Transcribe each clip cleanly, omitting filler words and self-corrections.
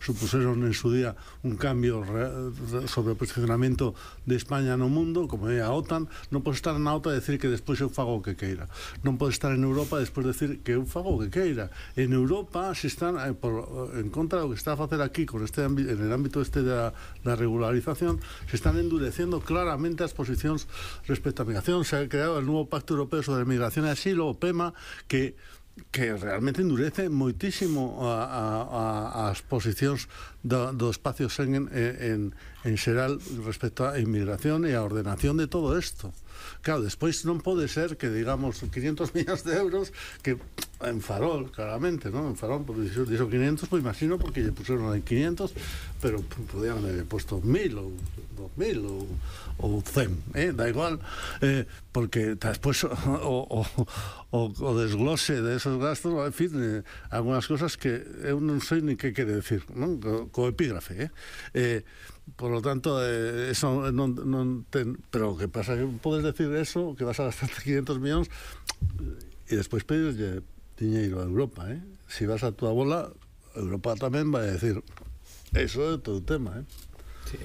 supuseron en su día un cambio sobre o posicionamento de España no mundo, como é a OTAN. Non pode estar na OTAN e decir que despois eu fago o que queira. Non pode estar en Europa e despois decir que eu fago o que queira. En Europa se están en contra do que está a facer aquí con en el ámbito da regularización, se están endurecendo claramente as posicións respecto á migración. Se ha creado el nuevo Pacto Europeo sobre Migración e Asilo, o PEMA, que realmente endurece moitísimo as posicións do espacio Schengen en xeral respecto á inmigración e a ordenación de todo isto. Claro, despois non pode ser que digamos 500 millóns de euros que en Farol, claramente, ¿no? En Farol, porque dixo 500, pues imagino porque lle puseron aí 500, pero podían haber puesto 1000 ou 2000 ou 100, da igual, porque despois o desglose de esos gastos, en fin, algunas cosas que eu non sei ni que quere decir, ¿no? Co epígrafe, por lo tanto, eso non ten, pero o que pasa que podes decir eso, que vas a gastar 500 millóns e despois pedirlle diñeiro a Europa, si vas a túa bola, Europa tamén vai a decir eso é todo o tema, Sí,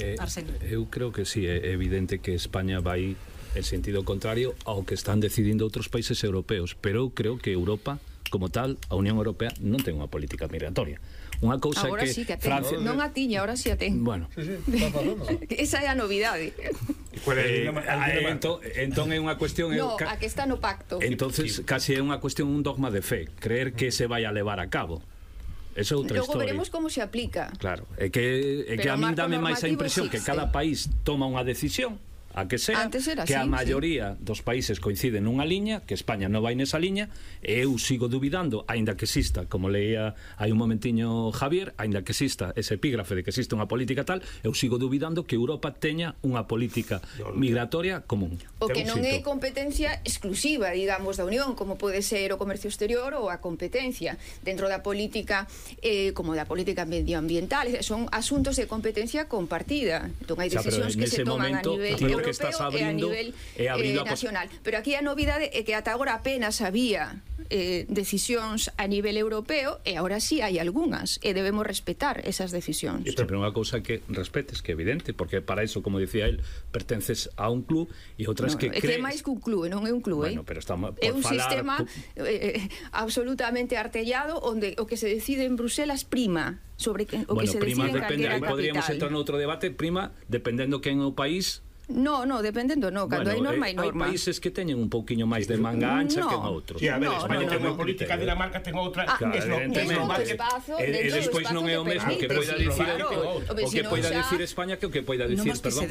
eu creo que sí, é evidente que España vai en sentido contrario ao que están decidindo outros países europeos, pero eu creo que Europa, como tal, a Unión Europea non ten unha política migratoria. Unha cousa agora que sí que a ten. Francia... Non a tiña, agora sí a ten. Bueno. Esa é a novidade. Entón é unha cuestión... No, a que está no pacto. Entonces, casi é unha cuestión, un dogma de fe, creer que se vai a levar a cabo. Eso é outra Logo historia. veremos como se aplica. Claro, é que a min dame máis a impresión que cada país toma unha decisión, a que sea, que a maioría dos países coinciden nunha liña, que España non vai nesa liña, e eu sigo dubidando, aínda que exista, como leía hai un momentiño Javier, aínda que exista ese epígrafe de que existe unha política tal, eu sigo dubidando que Europa teña unha política migratoria común. O que non é competencia exclusiva, digamos, da Unión, como pode ser o comercio exterior ou a competencia dentro da política, como da política medioambiental, son asuntos de competencia compartida. Entón hai decisións que se toman a nivel europeo e a nivel nacional. Pero aquí a novidade é que ata agora apenas había decisións a nivel europeo e agora sí hai algunhas e debemos respetar esas decisións. Pero unha cousa que respetes, que é evidente, porque para eso, como decía él, pertences a un club e outras que crees... É máis que un club, non é un club, bueno, pero está é un sistema absolutamente artellado onde o que se decide en Bruselas prima sobre o que se decide en calquera capital. Podríamos entrar noutro debate, prima, dependendo quen é o país. No, dependendo, cando hai norma hai norma. Hai países que teñen un pouquiño máis de manga ancha que en outros. Sí, a ver, España ten unha política, Dinamarca ten outra, e despois non é o mesmo que poida dicir o que poida dicir España que o que poida dicir, perdón,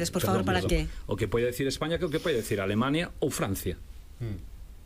o que poida decir España que o que poida decir Alemania ou Francia.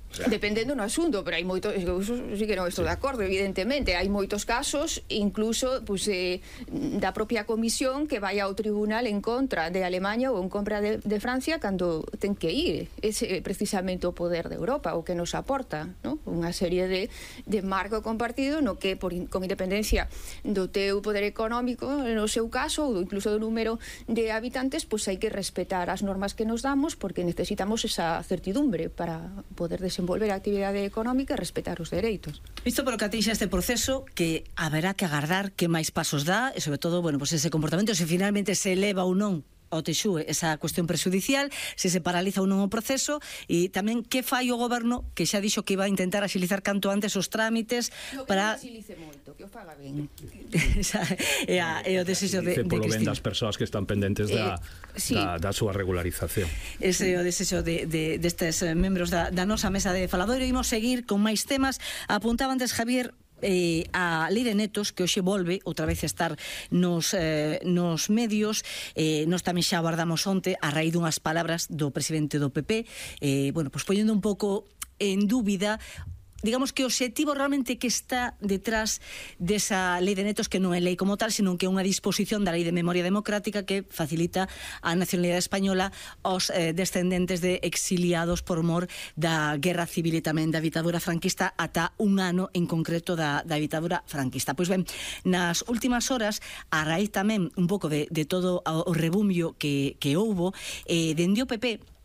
Dependendo no asunto, pero hai moitos, sí que non estou de acordo, evidentemente, hai moitos casos, incluso da propia comisión que vai ao tribunal en contra de Alemania ou en contra de Francia cando ten que ir. Ese precisamente o poder de Europa, o que nos aporta, ¿no? Unha serie de marco compartido no que con independencia do teu poder económico, no seu caso, ou incluso do número de habitantes, pois hai que respetar as normas que nos damos porque necesitamos esa certidumbre para poder desenvolver a actividade económica e respetar os dereitos. Visto polo que atixa este proceso, que haberá que agardar que máis pasos dá e sobre todo, bueno, pues ese comportamento, se finalmente se eleva ou non ao TXUE esa cuestión prexudicial, se paraliza ou non o proceso, e tamén que fai o goberno, que xa dixo que iba a intentar axilizar canto antes os trámites para... Que non axilice moito, que o faga ben. É o desexo de polo ben das persoas que están pendentes da súa regularización. Ese é o desexo destes membros da nosa mesa de faladoiro. Imos seguir con máis temas. Apuntaba antes Javier a Lei de Netos, que hoxe volve outra vez a estar nos medios. Nos tamén xa abordamos onte a raíz dunhas palabras do presidente do PP, bueno, pues poñendo un pouco en dúbida, digamos que o obxectivo realmente que está detrás desa Lei de Netos, que non é lei como tal, sino que é unha disposición da Lei de Memoria Democrática que facilita a nacionalidade española aos descendentes de exiliados por mor da Guerra Civil e tamén da ditadura franquista ata un ano en concreto da ditadura franquista. Pois ben, nas últimas horas, a raíz tamén un pouco de todo o rebumbio que houbo, dende o PP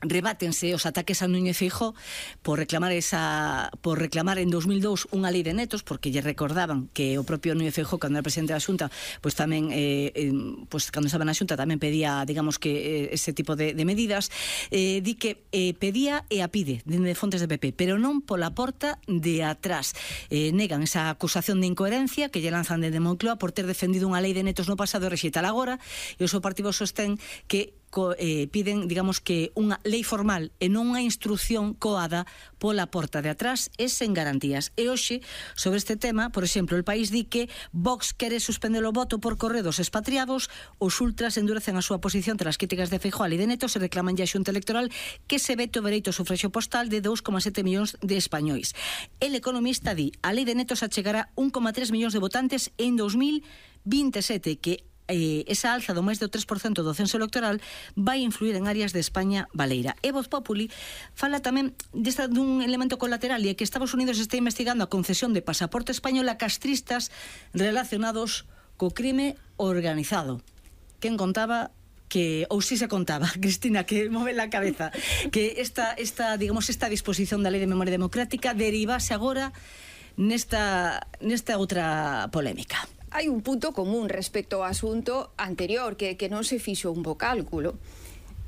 rebátense os ataques a Núñez Feijóo por reclamar en 2002 unha lei de netos, porque lle recordaban que o propio Núñez Feijóo, cando era presidente da Xunta, pois tamén cando estaba na Xunta tamén pedía, digamos, que ese tipo de medidas. Di que pedía e a pide dende fontes de PP, pero non pola porta de atrás. Negan esa acusación de incoherencia que lle lanzan dende Moncloa por ter defendido unha lei de netos no pasado e rexeitala agora, e o seu partido sostén que piden, digamos, que unha lei formal e non unha instrucción coada pola porta de atrás e sen garantías. E hoxe, sobre este tema, por exemplo, El País di que Vox quere suspender o voto por correo dos expatriados, os ultras endurecen a súa posición tras as críticas de Feijóo a lei de netos e reclaman ya a Xunta Electoral que se vete o dereito ao sufragio postal de 2,7 millóns de españois. El Economista di a lei de netos achegará 1,3 millóns de votantes en 2027, que esa alza do máis do 3% do censo electoral vai influir en áreas de España baleira. E Voz Populi fala tamén dun elemento colateral, e é que Estados Unidos está investigando a concesión de pasaporte español a castristas relacionados co crime organizado. Quen contaba que, ou si se contaba, Cristina, que move la cabeza, que esta disposición da Lei de Memoria Democrática derivase agora nesta outra polémica. Hai un punto común respecto ao asunto anterior, que non se fixo un bo cálculo.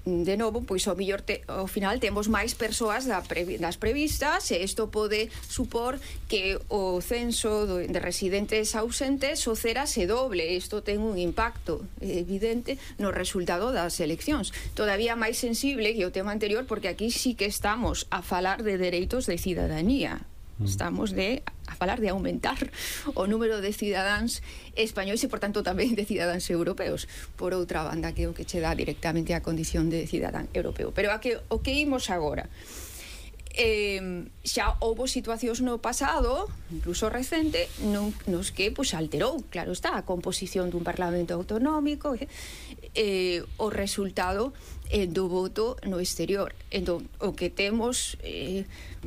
De novo, pois ao mellor ao final temos máis persoas das previstas, e isto pode supor que o censo de residentes ausentes o cera se doble. Isto ten un impacto evidente no resultado das eleccións. Todavía máis sensible que o tema anterior, porque aquí sí que estamos a falar de dereitos de cidadanía. Estamos a falar de aumentar o número de cidadáns españois e, por tanto, tamén de cidadáns europeos. Por outra banda, que o que che dá directamente a condición de cidadán europeo. Pero o que imos agora? Xa houve situacións no pasado, incluso recente, nos que alterou, claro está, a composición dun Parlamento autonómico, o resultado do voto no exterior. Entón, o que temos,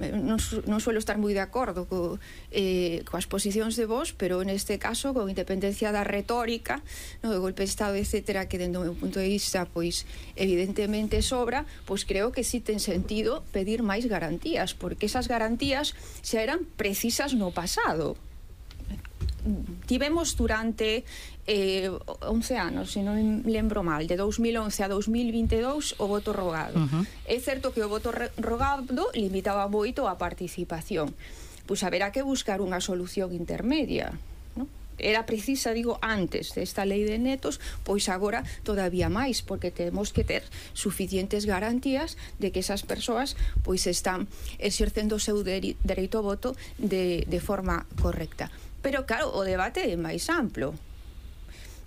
non suelo estar moi de acordo coas posicións de Vox, pero neste caso, con independencia da retórica, do golpe de Estado, etcétera, que dentro do meu punto de vista, pois, evidentemente sobra, pois creo que sí ten sentido pedir máis garantías, porque esas garantías xa eran precisas no pasado. Tivemos durante 11 anos, se non lembro mal, de 2011 a 2022 o voto rogado. É certo que o voto rogado limitaba moito a participación. Pois haberá que buscar unha solución intermedia, non? Era precisa, digo, antes desta lei de netos, pois agora todavía máis, porque temos que ter suficientes garantías de que esas persoas pois están exercendo o seu dereito ao voto de forma correcta. Pero claro, o debate é máis amplo.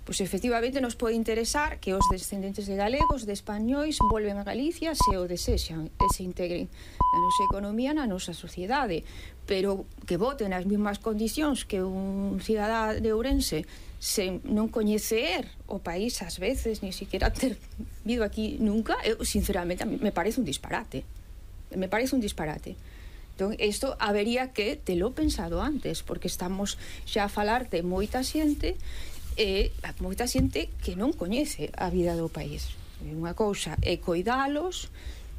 Pois efectivamente nos pode interesar que os descendentes de galegos, de españois, volven a Galicia se o desexan e se integren na nosa economía, na nosa sociedade, pero que voten nas mesmas condicións que un cidadá de Ourense sen non coñecer o país ás veces, ni siquiera ter vido aquí nunca, eu sinceramente me parece un disparate. Entón, isto habería que telo pensado antes, porque estamos xa a falar de moita xente que non coñece a vida do país. Unha cousa é coidalos,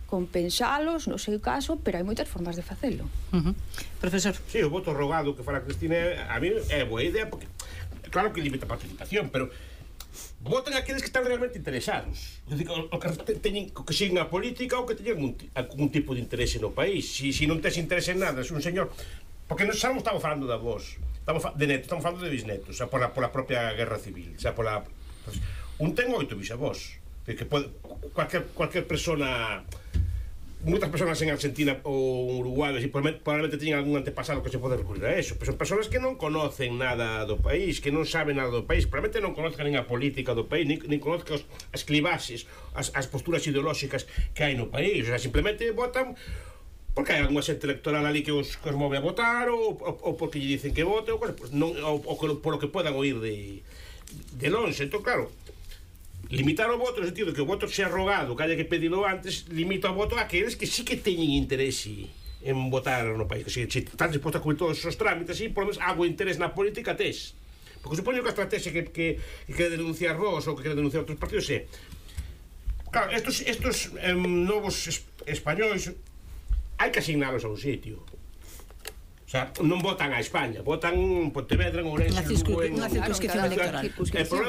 compensalos, no seu caso, pero hai moitas formas de facelo. Profesor. Sí, o voto rogado que fala Cristina, a mí é boa idea, porque claro que limita a participación, pero votan aqueles que están realmente interesados. É dicir, que siguen a política ou que teñen algún tipo de interese no país. Si non tes interese en nada, se un señor... Porque non estamos falando da voz, de netos, estamos falando de bisnetos, xa pola propia guerra civil, xa pola... Un ten 8 bisavós, que cualquier persona... Moitas persoas en Argentina ou Uruguai probablemente teñen algún antepasado que se pode recurrir a eso, pero son persoas que non conocen nada do país, que non saben nada do país, probablemente non conozcan nin a política do país, nin conozcan as clivaxes, as posturas ideolóxicas que hai no país. O sea, simplemente votan porque hai algunha xente electoral ali que os move a votar, ou porque lle dicen que vote, ou por o que podan oír de longe. Entón, claro, limitar o voto no sentido que o voto sea rogado, que haya que pedilo antes, limita o voto a aqueles que sí que teñen interese en votar no país, que se están dispostos a cubrir todos os trámites, e por lo menos algo de interés na política tes. Porque supoño que a estrategia que quere denunciar vos ou que quere denunciar outros partidos é Claro, estos novos españois hai que asignalos a un sitio. O sea, non votan a España, votan en Pontevedra, en Ourense, en Lugo, unha circunscripción electoral. El problema